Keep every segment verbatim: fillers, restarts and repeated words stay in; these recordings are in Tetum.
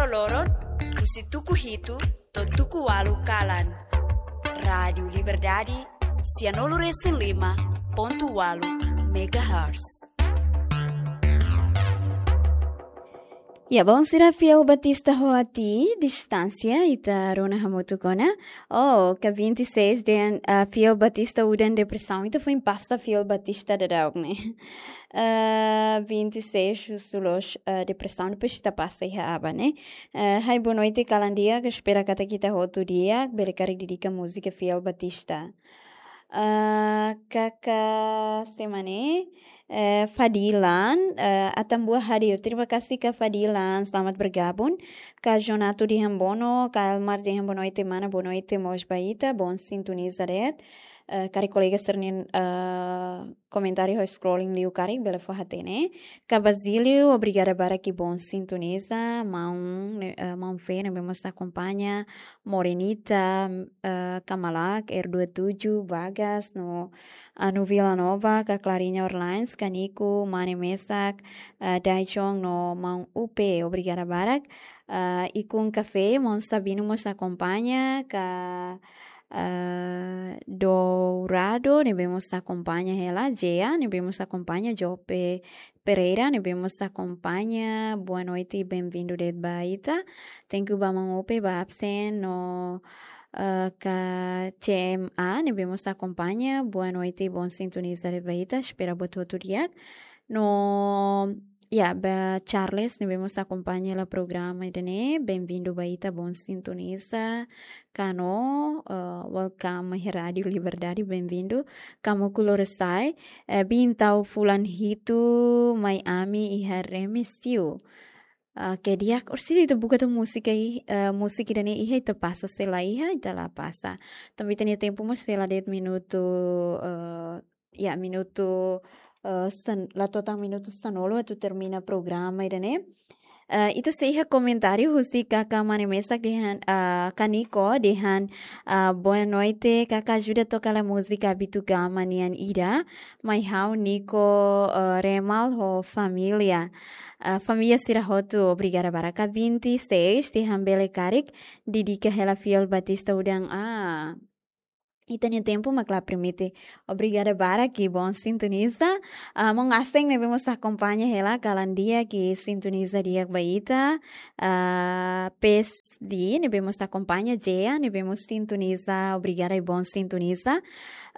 Loron, husi tuku hitu to'o tuku ualu kalan. Rádiu Liberdade, sianulu resin lima pontu ualu megahertz. Ya, bom, sira fiél Batista hotu, distánsia, ita rona hamutuk ona. Oh, ka vinte e seis dehan, ah, fiél Batista udan depresaun. Ita foin pasa fiél Batista daudaun ne'e. Ah, vinte e seis husu loos, ah, depresaun, depois ita pasa iha aban ne'e. Ah, hai boa noite, kalan di'ak, espera katak ita hotu di'ak, bele karik dedika múzika fiél Batista. Ah, kaka semana, eh, Fadilan, eh, Atambua hadir. Terima kasih ka Fadilan, selamat bergabung. Ka Jonato dehan boa no, ka Elmar dehan boa noite, mana, boa noite mós ba ita, bom sintoniza de'it. Eh, karik kolega sira-nia, eh, komentáriu ho scrolling liu karik bele fó hatene. Ka Basílio, obrigada barak i bom sintoniza. Maun, eh, Maun Fe, ne'ebé mós akompaña. Morenita, eh, Kamalak, R dua tujuh, Bagas, no Anu Vila Nova, ka Clarinha Orleans, ka Nico, Mane Mesak, eh, Daijong, no Maun Upe, obrigada barak. Eh, Ikun Café, Maun Sabino mós akompaña, ka, eh, Dourado, ne'ebé mós akompaña hela, Jea, ne'ebé mós akompaña, Jope Pereira, ne'ebé mós akompaña, boa noite, bem-vindo de'it ba ita. Thank you ba Maun Upe, ba absen, no, eh, ka C M A, ne'ebé mós akompaña, boa noite, bom sintoniza de'it ba ita, espera buat hotu di'ak. No, ya, ba Charles, ne'ebé mós akompaña hela programa ida-ne'e, bem-vindo ba ita, bom sintoniza. Kano, eh, welcome iha Rádiu Liberdade, bem-vindo. Kamu kulur sai, eh, bin tau fulan hitu mai ami iha remisiu. Ah, ke di'ak, orsida ita buka atu múzika i, eh, múzika ida-ne'e iha ita pasa, se la iha ita la pasa. Tanba ita-nia tempu mós sei la de'it minutu, eh, ya, minutu, eh, san-, la to'o tan minutu sanulu atu termina programa ida-ne'e. Eh, ita sei iha komentáriu husi kaka Mane Mesak dehan, eh, ka Nico dehan, eh, boa noite, kaka ajuda toka hela múzika Abitu Gama nian ida, mai ha'u Nico, eh, Remal ho família. Eh, família sira hotu, obrigada barak. Ka vinte e seis dehan bele karik dedika hela fiél Batista udan. Ah, ita-nia tempu mak la permite. Obrigada barak i bom sintoniza. Ah, Maun Aseng ne'ebé mós akompaña hela, kalan di'ak i sintoniza di'ak ba ita. Ah, P S V ne'ebé mós akompaña, Jea ne'ebé mós sintoniza, obrigada i bom sintoniza.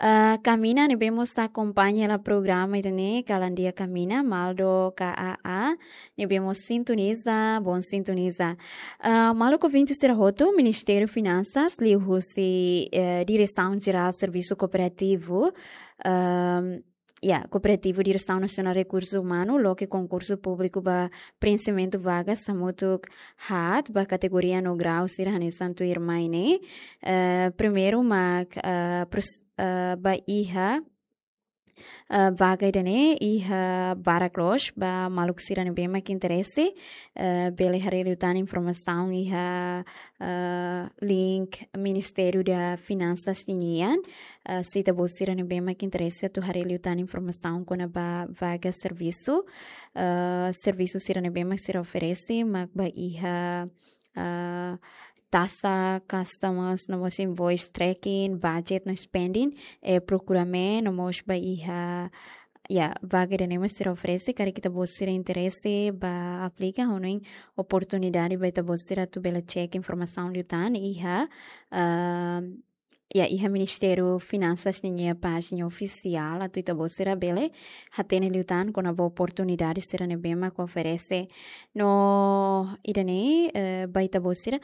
Ah, Kamina ne'ebé mós akompaña hela programa ida-ne'e, kalan di'ak Kamina, Maldo, K A A, ne'ebé mós sintoniza, bom sintoniza. Ah, maluk ouvinte sira hotu, Ministériu Finansas, liuhusi, eh, Diresaun Jerál Servisu Kooperativu, ehm, ya, Kooperativu, Diresaun Nasionál Rekursu Umanu, loke konkursu públiku ba preenximentu vagas hamutuk haat ba kategoria no grau sira hanesan tuirmai ne'e. Eh, primeiru mak, eh, pros-, eh, ba iha, eh, vaga ida-ne'e iha barak loos, ba maluk sira ne'ebé mak interese, eh, bele haree liután informasaun iha, eh, link Ministériu Finansas ninian. Eh, se ita-boot sira ne'ebé mak interese atu haree liután informasaun kona-ba vaga servisu, eh, servisu sira ne'ebé mak sira oferese, mak ba iha, eh, taxa, customs, no mós invoice tracking, budget no spending, eh, procurement, no mós ba iha, ya, vaga ida-ne'e mak sira oferese, karik ita-boot sira interese ba aplika, hanoin oportunidade ba ita-boot sira atu bele check informasaun liután iha, ah, ya, iha Ministériu Finansas ninia pájina ofisiál, atu ita-boot sira bele hatene liután kona-ba oportunidade sira ne'ebé mak oferese. No ida-ne'e, eh, ba ita-boot sira,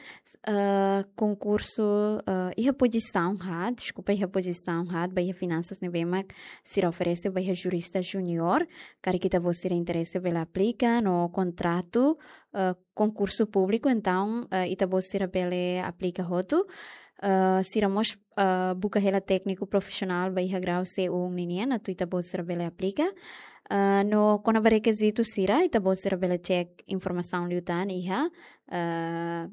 eh, konkursu, eh, iha pozisaun haat, deskulpa, iha pozisaun haat, ba iha finansas ne'ebé mak sira oferese, ba iha jurista júnior, karik ita-boot sira interese bele aplika, no kontratu, eh, konkursu públiku, entaun, eh, ita-boot sira bele aplika hotu. Eh, sira mós, eh, buka hela tékniku profisionál ba iha grau C um ninian, atu ita-boot sira bele aplika. Eh, no kona-ba rekizitu sira, ita-boot sira bele check informasaun liután iha, eh,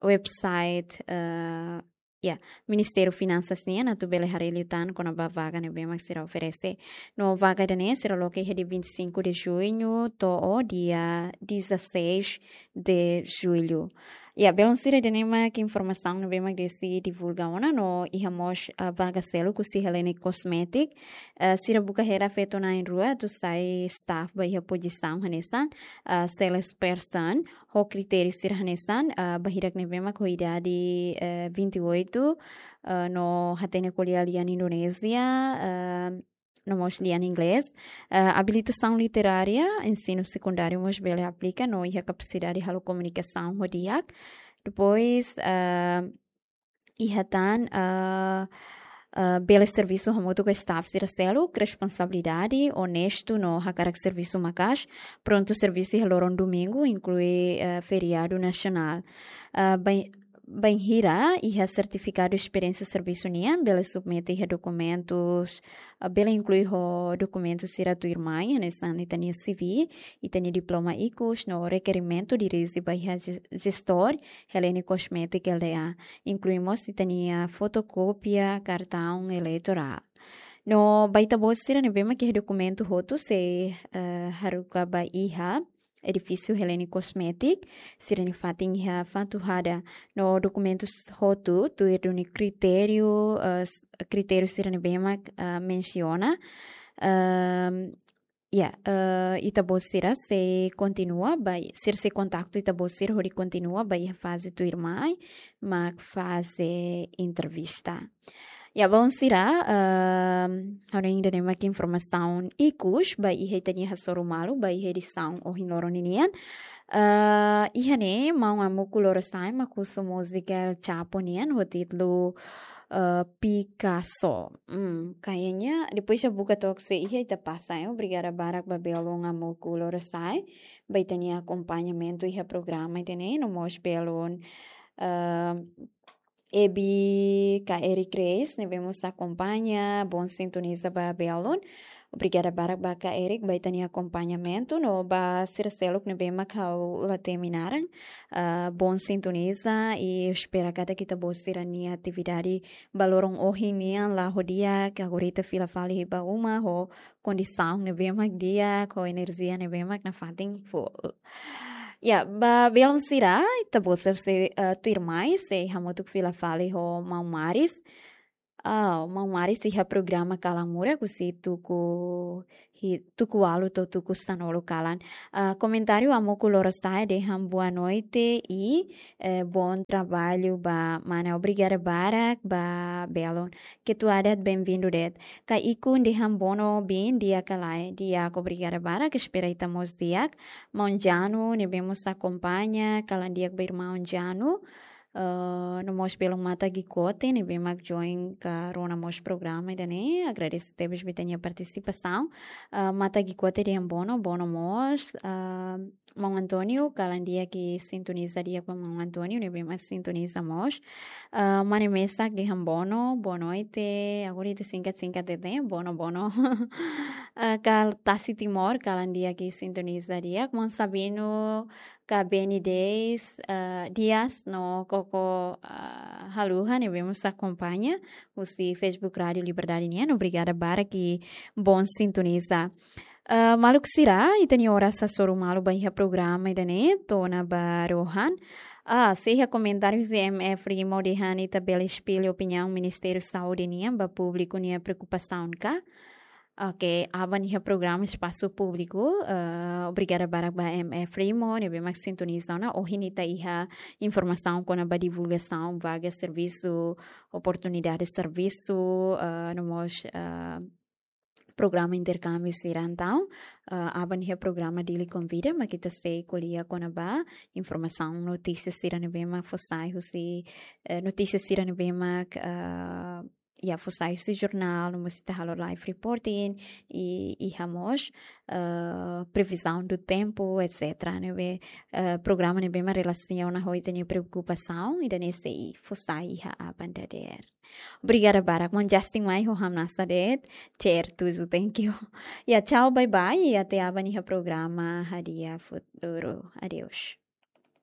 website, eh, ya, Ministériu Finansas nian atu bele haree liután kona-ba vaga ne'ebé mak sira oferese. No vaga ida-ne'e sira loke iha dia vinte e cinco de junho to'o dia dezasseis de julho. Ya, belun sira, ida-ne'e mak informasaun ne'ebé mak Desi divulga ona. No iha mós, ah, vaga seluk husi Hellenic Cosmetic. Ah, sira buka hela feto na'in-rua atu sai staff ba iha pozisaun hanesan, ah, salesperson, ho kritériu sira hanesan, ah, ba hirak ne'ebé mak ho idade, eh, vinte e oito, ah, no hatene ko'alia lian Indonézia, ah, no mós lian Inglés. Ah, abilitasaun literária, ensinu sekundáriu mós bele aplika, no iha kapasidade halo komunikasaun ho di'ak. Depois, ah, iha tan, ah, ah, bele servisu hamutuk ho staff sira seluk, responsabilidade, onestu no hakarak servisu maka'as, prontu servisu iha loron domingu, inklui, ah, feriadu nasionál. Ah, bain-, bainhira iha sertifikadu esperiénsia servisu nian, bele submete iha dokumentus, ah, bele inklui ho dokumentu sira tuirmai, hanesan ita-nia C V, ita-nia diploma ikus, no rekerimentu dirije ba iha jes-, jestór Hellenic Cosmetic L T A, inklui mós ita-nia fotokópia kartaun eleitorál. No ba ita-boot sira ne'ebé mak iha dokumentu hotu sei, eh, haruka ba iha edifísiu Hellenic Cosmetic, sira-nia fatin iha Fatuhada. No dokumentus hotu tuir duni kritériu, eh, s-, kritériu sira ne'ebé mak, eh, mensiona. Ehm, ya, eh, ita-boot sira sei kontinua ba, sira sei kontaktu ita-boot sira hodi kontinua ba iha faze tuirmai, mak faze entrevista. Ya, belun sira, ehm, ha'u hanoin ida-ne'e mak informasaun ikus ba iha ita-nia hasoru malu ba iha edisaun ohin loron ninian. Eh, iha ne'e maun Amuku Lorosa'e mak husu múzika El Chapo nian ho títulu, eh, Picasso. Hmm, kayaknya depois ha'u buka took se iha ita pasa, eh. Obrigada barak ba belun Amuku Lorosa'e ba ita-nia akompañamentu iha programa ida-ne'e, no mós belun, eh, Ebi ka Eric Reis, ne'ebé mós akompaña, bon sintoniza ba belun. Obrigada barak ba ka Eric, ba ita-nia akompañamentu, no ba sira seluk ne'ebé mak ha'u la temi naran, ah, bon sintoniza, i espera katak ita-boot sira-nia atividade ba loron ohin nian la'o di'ak, agora ita fila fali ba uma ho kondisaun ne'ebé mak di'ak, ho enerjia ne'ebé mak nafatin full. Ya, ba belun sira, ita-boot sira sei, eh, tuirmai, sei hamutuk fila fali ho maun Maris. Ah, maun Maris iha programa Kalan Murak husi tuku hi-, tuku ualu to'o tuku sanulu kalan. Ah, komentáriu Amuku Lorosa'e dehan boa noite i, eh, bom trabalho ba mana. Obrigada barak ba belun. Ketua adat bem-vindo de'it. Ka Ikun dehan bono bin di'ak ka lae. Di'ak, obrigada barak, espera ita mós di'ak. Maun Janu, ne'ebé mós akompaña, kalan di'ak ba irmaun Janu. Eh, no mós belun Mata Gikote, ne'ebé mak join ka rona mós programa ida-ne'e. Agradese tebes ba ita-nia partisipasaun. Eh, Mata Gikote dehan bono, bono mós. Eh, Maun António, kalan di'ak i sintoniza di'ak ba Maun António, ne'ebé mak sintoniza mós. Ah, mane mesak dehan bono, boa noite. Agora ita singkat-singkat de'it, bono, bono. Ah, kal Tasi Timor, kalan di'ak i sintoniza di'ak. Maun Sabino, ka Beni Deis, ah, Dias, no koko, ah, haluha, ne'ebé mós akompaña husi Facebook Rádio Liberdade nian. Obrigada barak i bon sintoniza. Ah, maluk sira, ita-nia oras hasoru malu ba iha programa ida-ne'e, to'o ona ba rohan. Ah, sei iha komentáriu husi M F Rimo dehan ita bele espellu opiniaun Ministériu Saúde nian ba públiku nia preokupasaun ka? Oke, aban iha programa espasu públiku. Ah, obrigada barak ba M F Rimo, ne'ebé mak sintoniza ona. Ohin ita iha informasaun kona-ba divulgasaun vaga servisu, oportunidade servisu, ah, no mós, ah, programa interkámbiu sira entaun, ah, aban iha programa Dili Konvida, mak ita sei ko'alia kona-ba informasaun, notísia sira ne'ebé mak fó sai husi, eh, notísia sira ne'ebé mak, ah, ya, fó sai husi jornál, no mós ita halo live reporting, i, i iha mós, ah, previsão do tempo, et cetera. Ne'ebé, eh, programa ne'ebé mak relasiona ho ita-nia preokupasaun, ida-ne'e sei fó sai iha aban dadeer. Obrigada barak, maun Justin mai ho hamnasa de'it, certo, so thank you. Ya, tchau, bye bye, i até aban iha programa Hadi'a Futuru. Adeus.